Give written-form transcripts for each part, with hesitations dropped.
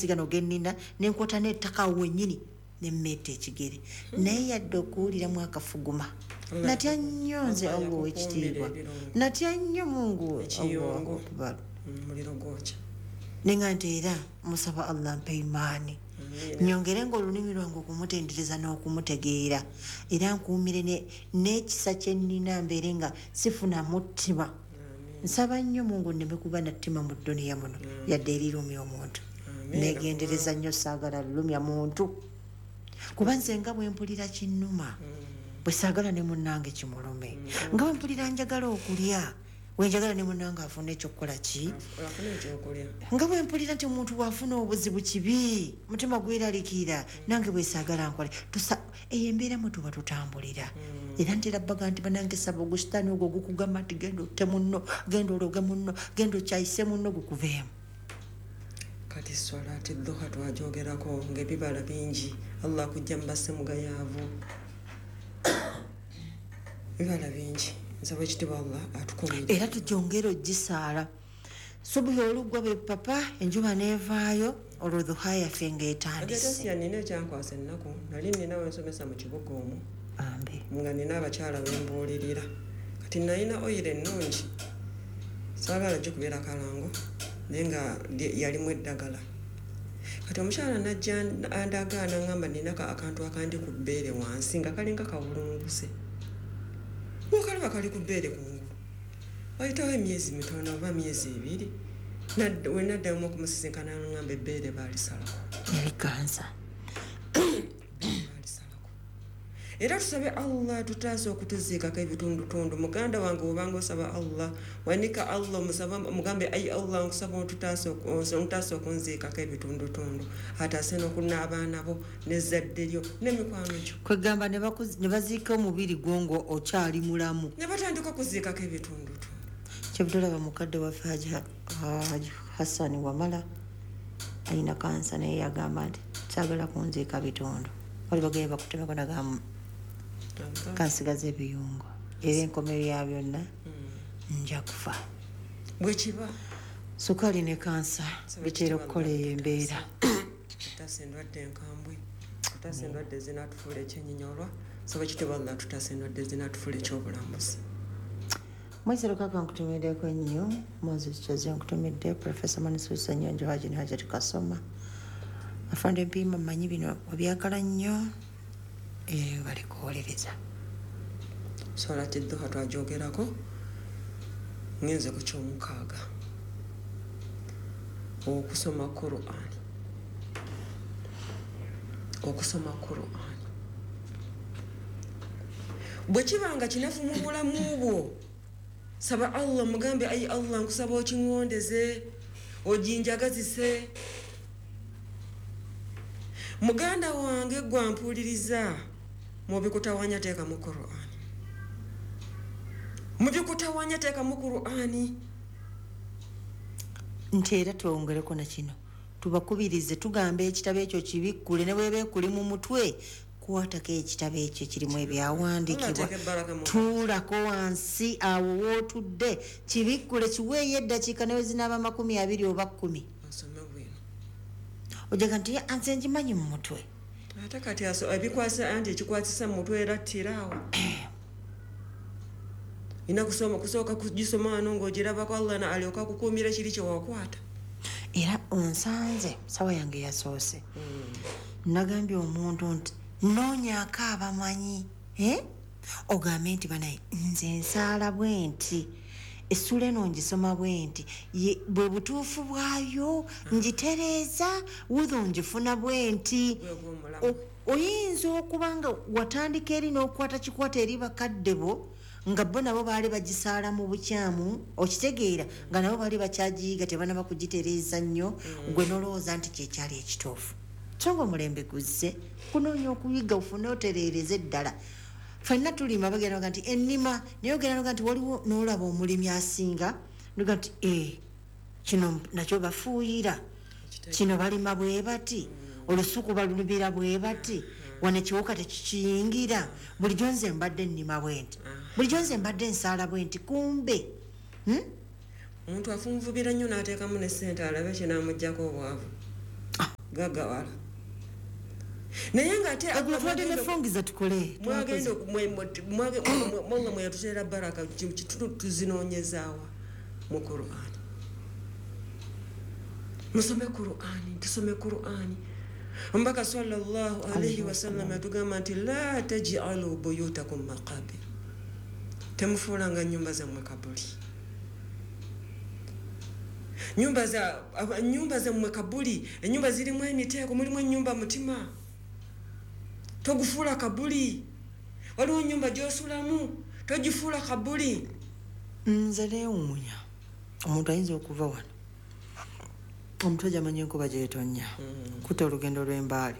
Gano gennina nenkwata n'ettaka awo wennyini nemmetta ekigere, naye yadde okuwuliramu akafuguma. Natya nnyo nze. Allah Allah owekitiibwa. yakukuumira ebirungo. Natya nnyo, Mungu. Ekiyungo. Allahu akbar. Muliro gwokya. Nenga nti era musaba Allah mpe imaani, nyongere nga olulimi lwange okumutendereza n'okumutegeera, era nkuumire n'ekisa kye nnina, mbeere nga sifuna muttima. Nsaba nnyo Mungu nneme kuba na ttima mu dduniya muno, yadde erirumya omuntu. Negendereza nnyo, saagala lulumya muntu, kuba nze nga bwe mpulira kinnuma, bwe saagala ne munnange kimulume. Nga bwe mpulira njagala okulya, bwenjagala ne munnange afune ekyokukola ki. Afune ekyokulya. Nga bwe mpulira nti omuntu bw'afuna obuzibu kibi, mutima gweraliikirira, nange bwesaagala nkole. Tusa eyo embeera mwe tuba tutambulira. Era ntera baga nti banange, saba ogusitaani ogwo ogukugamba nti genda otte munno, genda ologe munno, genda okyayise munno, gukuveemu. Kati swalati duha twajogerako ngaebibala bingi. Allah akujja mu basemugayaavu, bibala bingi. Nsaba ekitibwa Allah atukumire. Era tugyongere ogisaala subuhi oluggwa bwe papa enjuba neevaayo, olwo duha yaffe ng'etandise. Agatasiya, nina ekyankwasa ennaku. Nali nina wensomesa mu kibuga omwo, Bambi. nga nina abakyala bembuulirira. Kati nalina oyiro ennungi, saagala gikubeera kalango, naye nga yalimu eddagala. Kati omukyala najja andaga, naŋŋamba nina akantu akandi ku bbeere wansi nga kalinga kawulunguse, wakalaba kali ku bbeere kungulu. Wayitawo emyezi mitono oba myezi 2, we naddamu okumusisinkana, naŋŋamba ebbeere baalisalako. Yali kansa. Baalisalako. Era tusabe Allah tutaasa okutuziikako ebitundutundu. Muganda wange, obanga osaba Allah, wanika Allah, omusaba mugambe, "Ayi Allah, nkusaba ontutaase okunziikako ebitundutundu." Ataase n'okunna abaana bo n'ezzadde lyo n'emikwano gyo. Kwegamba ne baziika omubiri gwo nga okyali mulamu. Ne batandika okuziikako ebitundutundu. Kyebutolaba mukadde waffe Haji Hassani Wamala alina kansa, naye yagamba nti kyagala kunziika bitundu. Wali bagenda bakutemeko, nagamba kansigaza ebiyungo, era enkomero ya byonna nja kufa. Bwekiba. Sukaali ne kansa bitera okukola eyo embeera. Tutaasa endwadde enkambwe, tutaasa endwadde ezinatufuula ekyenyinyolwa. Saba ekitibwa Allah tutaasa endwadde ezinatufuula ekyobulambuzi. Mwezi Lukaka nkutumiddeko nnyo. Moses Kyaze nkutumidde. Profesa Manisusa Nyonjo, Haji ne Hajati Kasoma, afande Mpiima, mmanyi bino obyagala nnyo, balikuwolereza. Swalati duha twajogerako. Ngenze ku kyomukaaga, okusoma Quran. Okusoma Quran bwe kiba nga kinafu mu bulamu bwo, saba Allah, mugambe, "Ayi Allah, nkusaba okiŋŋondeze, oginjagazise." Muganda wange gwampuuliriza, mubikutawanya teekamu Quran, mubikutawanya teekamu Qur'ani. Nti era twongereko na kino, tubakubirize, tugamba ekitabo ekyo kibikkule, ne bweba ekuli mu mutwe, kwatako ekitabo ekyo kirimu ebyawandiikibwa. Allah ateeke ebbaraka mu Tuulako wansi awo wootudde, kibikkule, kiweeyo eddakiika newe zinaaba 20 oba 10. Osome bwino. Ojaga nti, "Ya, nze ngimanyi mu mutwe." Ate kati ebikwasa anti ekikwatisa mu mutwe era ttira awo ina kusoma, kusooka kugisoma wano ng'ogirabako, Allah na alyoka akukuumira kiri kyewakwata. Era onsanze sawa yange yasoose, nagambye omuntu nti noonyaako abamanyi, eh? Ogambe nti banaye nze nsaala bwe nti, essula eno ngisoma bwe nti, bwe butuufu bwayo ngitereeza, wudhu ngifuna bwe nti. Gwegwomulamu. Oyinza okuba nga watandika eri n'okwata kikwata eri bakadde bo, nga bo nabo baali bagisaala mu bukyamu, okitegeera, nga nabo baali bakyagiyiga, tebanaba kugitereeza nnyo, gwe nolowooza nti kyekyali ekituufu. So nga omulembe guzze kunoonya okuyiga, ofune otereereze eddala. Ffenna tulima, bagenda baga nti ennima, naye ogenda noga nti waliwo n'olaba omulimi asinga noga nti, "Eh, kino nakyo bafuuyira, kino balima bwe bati, olusuku balulubira bwe bati, wano ekiwuka tekikiyingira. Bulijjo nze mbadde nnima bwe nti, bulijjo nze mbadde nsaala bwe nti." Kumbe, Omuntu afunvubira nnyo n'ateekamu ne ssente alabe kinaamugjako obwavu. Gagawala. Naye nga ate twadde nefungiza tukole. Mwagenda mwanga mweyatuteera baraka tuzinoonyezaawa mu Qur'ani. Musome Qur'ani, tusome Qur'ani. Omubaka sallallahu alaihi wasallam yatugamba nti la tajialu buyutakum maqabir, temufuulanga nyumba zammwe kabuli. Nyumba zammwe kabuli, ennyumba zirimu emiteeko, mulimu ennyumba mutima. Togufuula kabuli. Waliwo ennyumba gy'osulamu, togifuula kabuli. Nze neewuunya omuntu ayinza okuva wano omuntu ajamanyi enkuba gyetonya kuta olugendo lw'embaale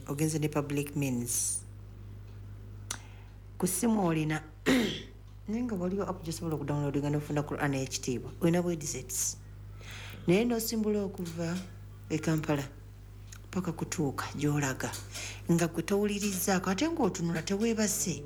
ogenze ne public means ku ssimu olina naye nga waliwo app gyosobola okudownloadinga nofuna Quran ey'ekitiibwa olina bwedisets naye nosimbula okuva e Kampala paka kutuuka gy'olaga nga gwe towulirizaako ate ng'otunula teweebase.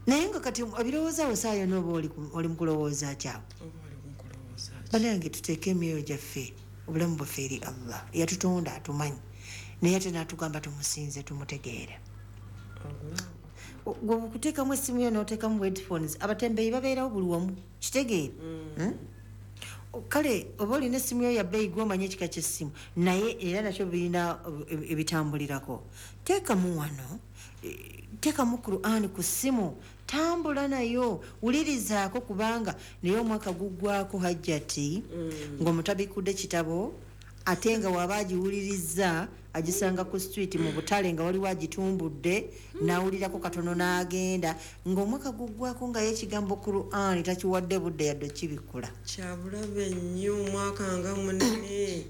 Naye nga kati ebirowoozo awo saa yonna oba oli mu kulowooza kyawo. Banange tuteeke emyoyo gyaffe obulamu bwaffe eri Allah yatutonda atumanyi naye ate n'atugamba tumusinze tumutegeere. Gwe okuteekamu essimu yo n'oteekamu headphones abatembeeyi babeerawo buli wamu kitegeere. Kale oba olina essimu yo ya bbeeyi gw'omanya ekika ky'essimu naye era nakyo birina ebitambulirako. Teekamu wano, teekamu Qur'an ku ssimu, tambula nayo, wulirizaako kubanga naye omwaka guggwako Hajjati ng'omutabikudde kitabo ate nga waba agiwulirizza agisanga ku street mu butale nga waliwo agitumbudde n'awulirako katono n'agenda ng'omwaka guggwako nga ye ekigambo Qur'an takiwadde budde yadde okibikula. Kyabulabe nnyo omwaka nga munene.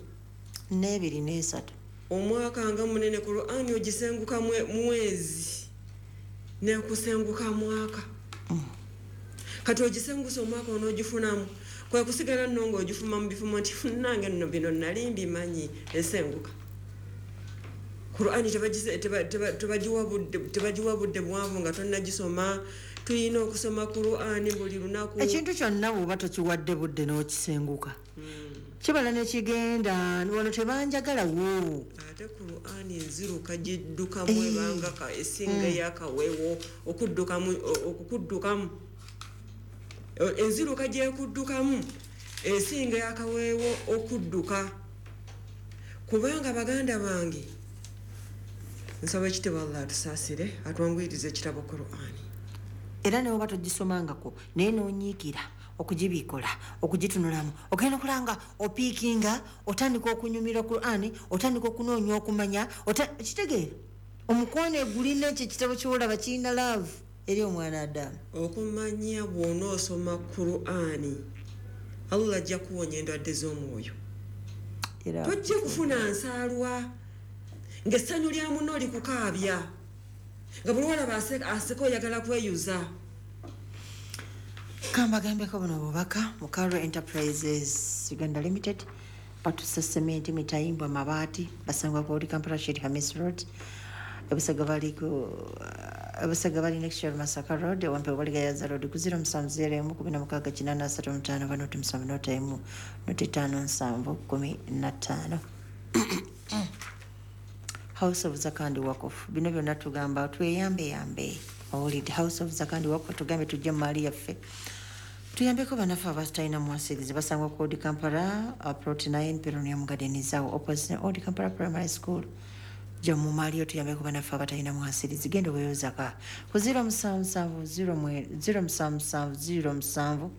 N'ebiri n'esatu. Omwaka nga munene Qur'an ogisenguka mwezi nekusenguka mwaka. Kati ogisengusa omwaka onoogifunamu kwe kusigala nno ng'ogifuma mu bifumo nti nange nno bino nali mbimanyi esenguka. Qur'ani tebagiwa budde buwanvu nga tonnagisoma. Tulina okusoma Qur'ani buli lunaku. Ekintu kyonna bw'oba tokiwadde budde n'okisenguka kibala nekigenda wano tebanjagala wo. Ate Qur'ani enziruka giddukamu ebanga esinga eyakaweewo okukuddukamu. Enziruka gyekuddukamu esinga eyakaweewo okudduka. Kubanga baganda bange nsaba ekitibwa Allah atusaasire atwanguyirize ekitabo Qur'ani. Era ne oba togisomangako naye n'onyiikira okugibikola okugitunulamu ogenda okulanga opiikinga otandika okunyumira Qur'ani otandika okunoonya okumanya kitegeera omukwano egulina ekyo ekitabo ky'olaba kirina love eri omwana Adamu. Okumanya bw'onoosoma Qur'ani Allah ajja kuwonya endwadde z'omwoyo. Tojja kufuna nsaalwa ng'essanyu lya munno likukaabya nga buli walaba aseka oyagala kweyuza. Kambagambeko buno bubaka Mukaro Enterprises Uganda Limited batusa sementi mitayimbwa mabaati basangwa ku Old Kampala Sheikh Hamis Road Ebusaga bali next year Masaka Road Wampe bali Gayaza Road ku 070 16 85 banoti 7 noti 5 7 15. House of Zakandi Wakof bino byonna tugamba tweyambe yambe owulidde. House of Zakandi Wakof tugambe tujje mu maali yaffe tuyambeko bannaffe abatalina mwasirizi basangwa ku Old Kampala Plot 9 Peronia Garden zaawo opposite Old Kampala Primary School. Jja mu maali yo tuyambeko bannaffe abatalina mwasirizi genda weeyozaka ku 077 077 07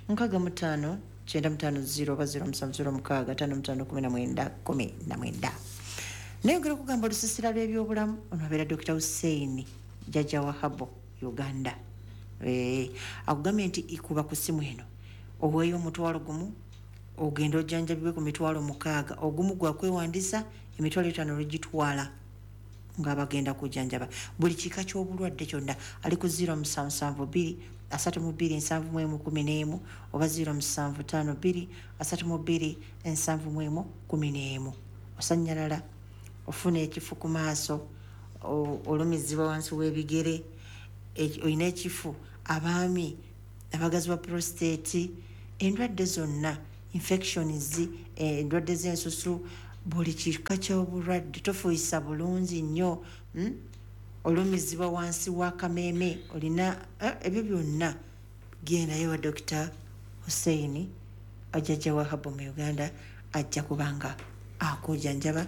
65 950 oba 0706 55 19 19. Nayongera okugamba olusisira lw'ebyobulamu ono abeera Dr. Hussein Jjajja Wahabo Uganda. Akugambye nti ikuba ku ssimu eno oweeyo 1,000 ogenda ojjanjabibwe ku 6,000 ogumu gwa kwewandisa 5,000 lugitwala nga bagenda kujjanjaba buli kika ky'obulwadde kyonna. Ali ku 0772 32 71 11 oba 0752 32 71 11. Osanyalala ofuna ekifu ku maaso olumizibwa wansi w'ebigere olina ekifu abaami abagazi ba prostate endwadde zonna infections endwadde z'ensusu Buli kika ky'obulwadde, tofuuyisa bulungi nnyo, Olumizibwa wansi w'akameeme, olina ebyo byonna, gendayo wa Dr Hussein Ajjajja wa herbal mu Uganda, ajja kubanga akujanjaba.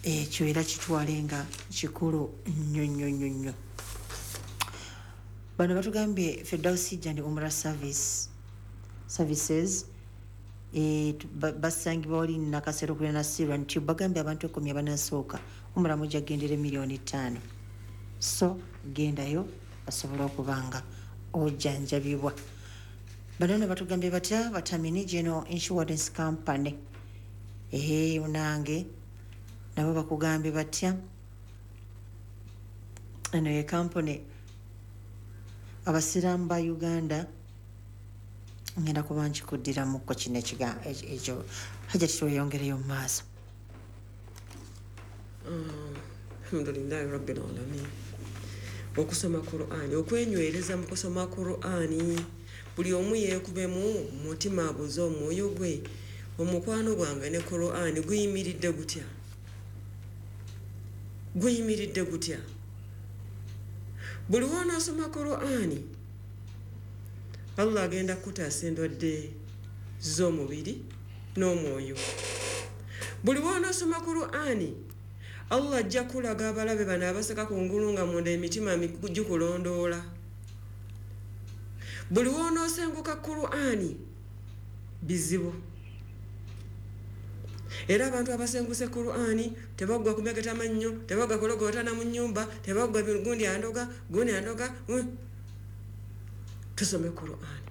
Ekyo era kitwale nga kikulu nnyo nnyo nnyo nnyo. Bano batugambye Firdausi Hajj and Umrah Services, basangibwa wali Nakasero kulina Sirwan nti bagambye abantu 10 abanasooka umra mujja kugendera 5,000,000. So gendayo basobole okubanga ojjanjabibwa. Bano nno batugambye batya? Batamini General Insurance Company, unange nabo bakugambye batya? Eno ye company abasiraamu ba Uganda. Ngenda kuba nkikuddiramuko kino ekyo. Hajati, tweyongereyo mu maaso. Alhamdulillahi rabbil alamin. Okusoma Qur'ani, okwenywereza mu kusoma Qur'ani, buli omu yeekubemu mutima, abuuze omwoyo gwe, omukwano gwange ne Qur'ani guyimiridde gutya? Guyimiridde gutya? Buli w'onoosoma Qur'ani, Allah agenda kukutaasa endwadde z'omubiri n'omwoyo. Buli w'onoosoma Qur'ani, Allah ajja kulaga abalabe bano abaseka ku ngulu nga munda emitima gikulondoola. Buli w'onoosenguka Qur'ani, bizibu. Era abantu abasenguse Qur'ani tebaggwa kumegeta mannyo, tebaggwa kulogootana mu nnyumba, tebaggwa gundi andoga, gundi andoga. Tusome Qur'ani.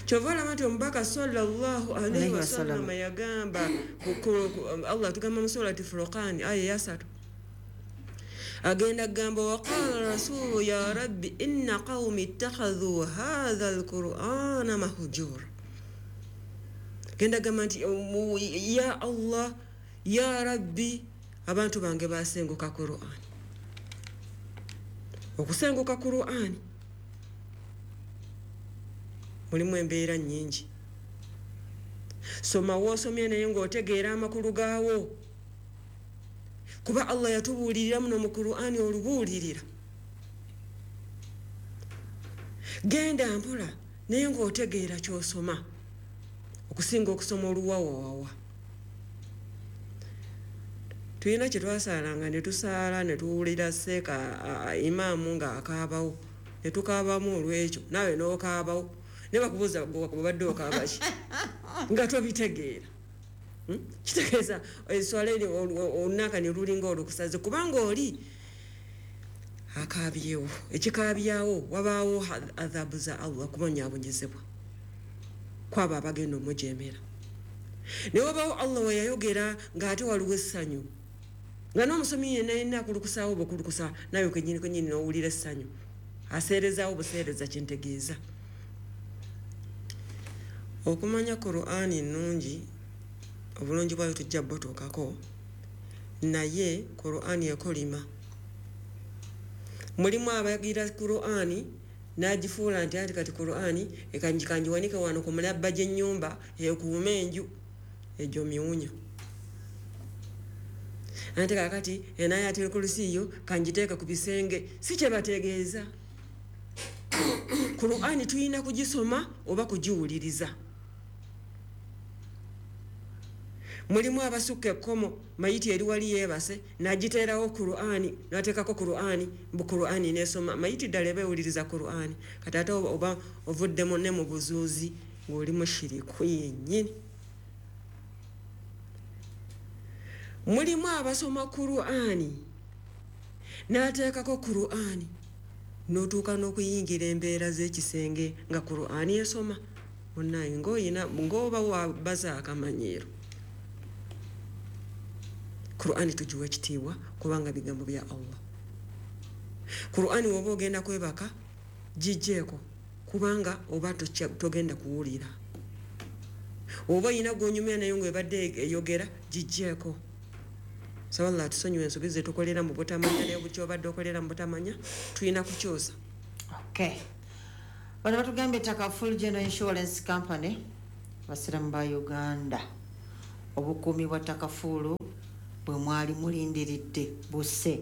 Kyova olaba nti omubaka sallallahu alaihi wasallam yagamba, Allah tugamba mu Surati Furqan aya ya 3, agenda kugamba, waqala rasulu ya rabbi inna qawmi ittakhadhu hadha alqur'ana mahjura. Genda gamba nti ya Allah, ya rabbi, abantu bange basenguka Qur'ani. Okusenguka Qur'ani mulimu embeera nnyingi. Soma woosomye naye ng'otegeera amakulu gaawo, kuba Allah yatubuulirira muno mu Qur'ani olubuulirira. Genda mpola naye ng'otegeera ky'osoma, okusinga okusoma oluwawawawa. Tulina kye twasaalanga ne tusaala ne tuwulira seeka imaamu ng'akaabawo, ne tukaabamu olw'ekyo, naawe n'okaabawo, ne bakubuuza obadde okaaba ki nga tobitegeera. Kitegeeza eswala eri olunaka ne lulinga olukusaze, kubanga oli akaabyewo. Ekikaabyawo wabaawo adhabu za Allah, kubonyaabonyezebwa kwabo abagenda omujemera. Ne wabaawo Allah we yayogera ng'ate waliwo essanyu, nga n'omusomi yenna yenna akulukusaawo bwekulukusa, nawe kenyini kenyini n'owulira essanyu, aseerezaawo buseereza. Kyentegeeza, okumanya Qur'ani nnungi, obulungi bwayo tujja butuukako, naye Qur'ani ekolima. Mulimu abagira Qur'ani n'agifuula nti anti kati Qur'ani ekanjiwanike wano ku mulabba gy'ennyumba ekuume enju, egyo miwunya. Anti kakati enayatul kursiyo kanjiteeka ku bisenge, si kye bategeeza. Qur'ani tulina kugisoma oba kugiwuliriza. Mulimu abasukka ekkomo, mayiti eri wali yeebase n'agiteerawo Qur'ani, n'ateekako Qur'ani, mbu Qur'ani n'esoma. Mayiti ddala eba ewuliriza Qur'ani? Kati ate oba ovuddemu ne mu buzuuzi ng'oli mushiriku yennyini. Mulimu abasoma Qur'ani n'ateekako Qur'ani, n'otuuka n'okuyingira embeera z'ekisenge nga Qur'ani esoma. Munnaye ng'oyina ng'oba wabaza akamanyiiro. Qur'ani tugiwe ekitiibwa kubanga bigambo bya Allah. Qur'ani woba ogenda kwebaka giggyeko, kubanga oba togenda kuwulira. Oba oyina gw'onyumya naye ng'ebadde eyogera, giggyeko. Saba Allah atusonyiwe ensobi ze tukolera mu butamanya, naye buli ky'obadde okolera mu butamanya tulina kukyusa. Okay. Bano batugambye Takaful General Insurance Company, abasiraamu ba Uganda. Obukuumi bwa takafuulu bwe mwali mulindiridde busse.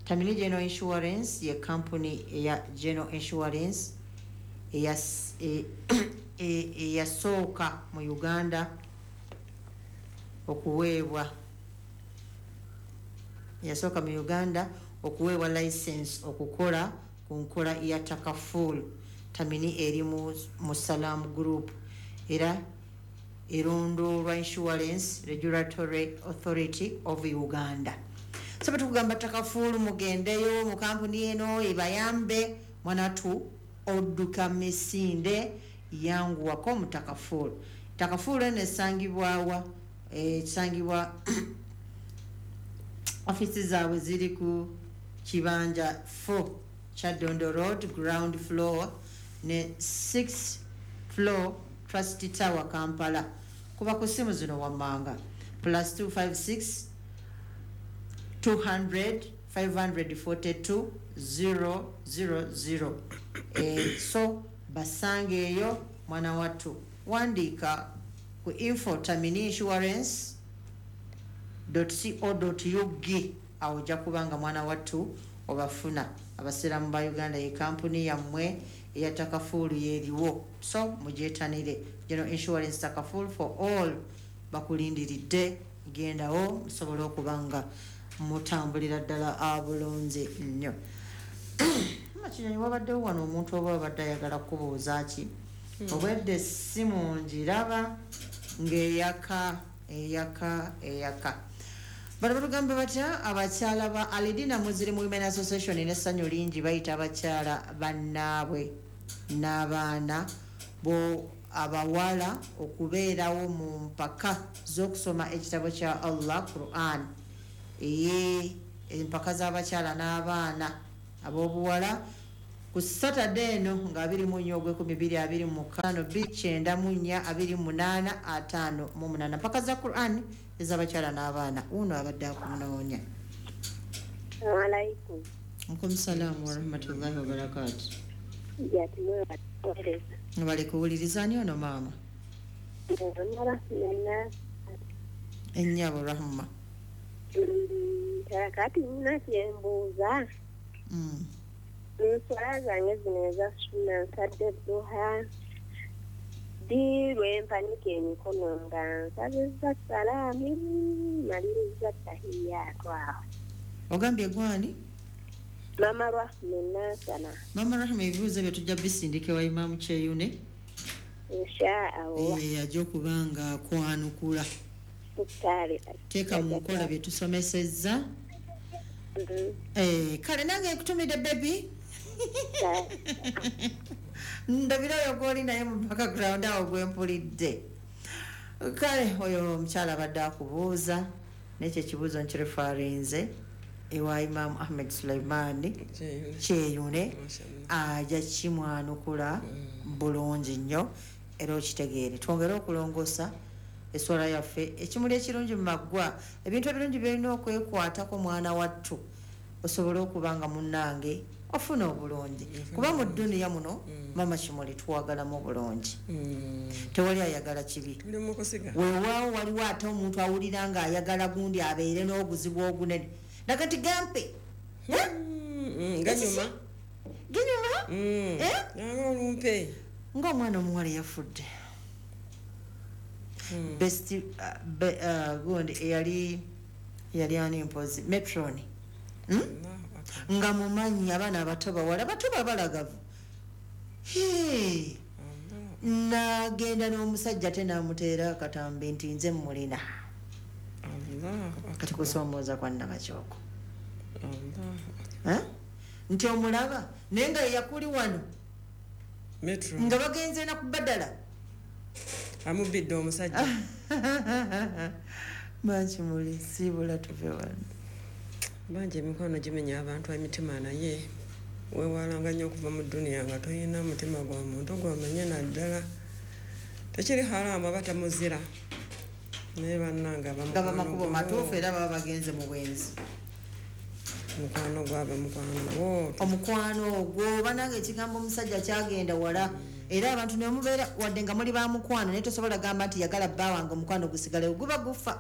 Tamini General Insurance ye kampuni eya General Insurance eyasooka mu Uganda okuweebwa yasooka mu Uganda okuweebwa license okukola ku nkola ya takaful. Tamini eri mu Salam Group era erondoolwa Insurance Regulatory Authority of Uganda. So tukugamba takafulu, mugendeyo mu kampuni eno ebayambe. Mwanatu odduka misinde, yanguwako mu takafulu. Takafulu eno esangibwawa? Ekisangibwa ofisi zaabwe ziri ku kibanja 4 Kyadondo Road, ground floor ne 6 floor, Trust Tower, Kampala. Kuba ku simu zino wammanga: +256 200 542 000. So basange eyo mwana wattu. Wandiika ku info tamini insurance co ug, awo ojja kubanga mwana wattu obafuna. Abasiraamu ba Uganda, ye kampuni yammwe eya takafuulu yeriwo, so mugyetanire. General Insurance Takaful for all bakulindiridde. Gendawo musobole okuba nga mutambulira ddala abulungi nnyo. Makinyonyi, wabaddewo wano omuntu oba abadde ayagala kubuuza ki? Obwedde essimu ngiraba ng'eyaka, eyaka, eyaka. Bano batugamba batya? Abakyala ba Alidina Muslim Women Association n'essanyu lingi bayita abakyala bannaabwe n'abaana bo abawala okubeerawo mu mpaka z'okusoma ekitabo kya Allah, Quran. Eye empaka z'abakyala n'abaana ab'obuwala ku Saturday eno nga 24 ogw'e2025, 294 28 58, mpaka za Quran ez'abakyala n'abaana. Wuno abadde akunoonya. Alaikum. Alaikum salaamu warahmatullahi wabarakatu. Jati mwebawereza. Bali kuwuliriza. Ani ono maama? Nena. Ennyabo Rahma. Kati nina kyembuuza. Nswala zange zino eza sunna, nsadde duha, ddi lwempanika emikono nga nsabizza salaamu, maliriza tahiyaatu awo? Ogambye gwani? Mama Rahma Nansana. Mama Rahma, ebibuuzo ebyo tujja bisindika ewa Imaamu Kyeyune. Insha Allah. Ajja okuba nga akwanukula. Kale. Teeka mu nkola bye tusomesezza. Kale nange nkutumidde baby. Ndabira oyo gwoli naye mu background awo gwempulidde. Kale oyo omukyala abadde akubuuza, nekyo ekibuuzo nkirefarinze ewa Imaamu Ahmed Suleimani Kyeyune, ajja kimwanukula bulungi nnyo era okitegeere. Twongere okulongoosa eswala yaffe. Ekimuli ekirungi mu maggwa, ebintu ebirungi byolina okwekwatako mwana wattu osobole okuba nga munnange ofuna obulungi, kuba mu dduniya muno, mama Kimuli, twagalamu obulungi, tewali ayagala kibi. Tuli mu kusiga. Weewaawo waliwo ate omuntu awulira ng'ayagala gundi abeere n'obuzibu ogunene nakati gampe. Ganyuma. Ginyuma. Eh? Nanga olumpe. Ng'omwana omuwala yafudde, best gundi eyali yali ani mpozi matron, Nga mumanyi abaana abato bawala bato babalagavu. Hey! Nagenda n'omusajja ate n'amuteera akatambi nti nze mulina. Kati kusoomooza kwa nnabakyoko. Eh? Nti omulaba naye nga yeyakuli wano. Metro. Nga bagenze na kubadala. Amubidde omusajja. Makimuli, siibula tuve wano. Bangi emikwano gimenya abantu emitima, naye weewalanga nnyo okuva mu dduniya nga toyina mutima gwa muntu gwamanye. Naddala tekiri haraamu aba tamuzira, naye bannange nga bamakubo matuufu era baba bagenze mu bwenzi. Mukwano gwaba mukwano gwo. Omukwano ogwo banange, ekigambo omusajja kyagenda wala. Era abantu nemubeera wadde nga muli bamukwano, naye tosobola gamba nti yagala bba wange, omukwano gusigalewo, guba gufa.